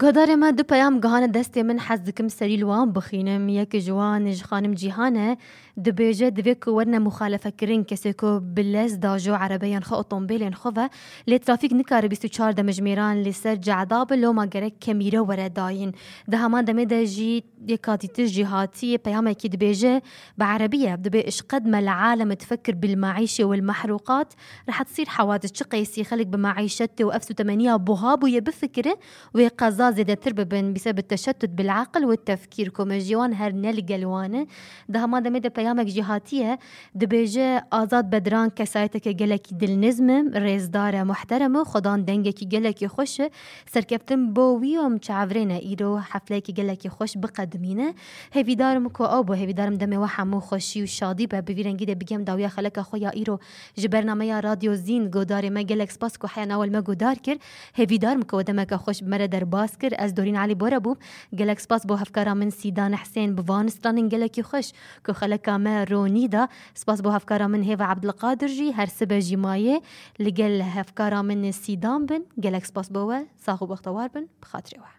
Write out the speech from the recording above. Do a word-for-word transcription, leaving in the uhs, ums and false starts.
Guhdarê me du peyam gihane destê min, hez dikim serî li wan bixînim. Yek ji wan ji xanim Cîhan e, dibêje divê ku werine muxalefekirin kesê ku bi lez dajo erebeyên xwe, otombêlên xwe ve, lê trafîk nikare bîst û çar demjimêran li ser cehda bi, loma gerek kemîre were dayîn. Di heman demê de jî yek katîtir jî hatiye peyamekî dibêje, bi erebî ye, dibê: "Eşqed me le alem tfekir bil maîşe wel mehrûqat, rehet sîr hewadis çi qeysî xelk bi maîşetê û ev sûtemeniya buha bûye bifikire, wê qeza zêdetir bibin, bîse bi teşettut bil aqil û tefkîr ku me jî wan her ne li gel wan e." Di heman demê de peyamek jî hatiye, dibêje: "Azad Bedran kesayeteke gelekî dilniz me, rêzdar e, muhterem e, xwedan dengekî gelekî xweş e. Serkeftin bo wî û em çavrêne îro hefleyekî gelekî xweş biqedimîne. Hêvîdar im ku ew bo, hêvîdar im demê we hemû xweşî û şadî be. Bi vî rengî de bigem dawiya xeleka xwe ya îro ji bernameya Radyo Zîn. Godarê me, gelek spas ku heya nava li me godar kir. Hêvîdar im ku we demeke xweş bi me re derbas kir. Ez Dorîn Elî Bore bûm. Gelek spas bo hevkara min Sîdan Hesên bi van stranên gelekî xweş ku xeleka me ronî da. Spas bo hevkara min Hêva Ebdilqadir jî, her sibe jî maye. Li gel hevkara min Sîdan bin. Gelek spas bo we. Sax û bextewar bin. Bi xatirê we."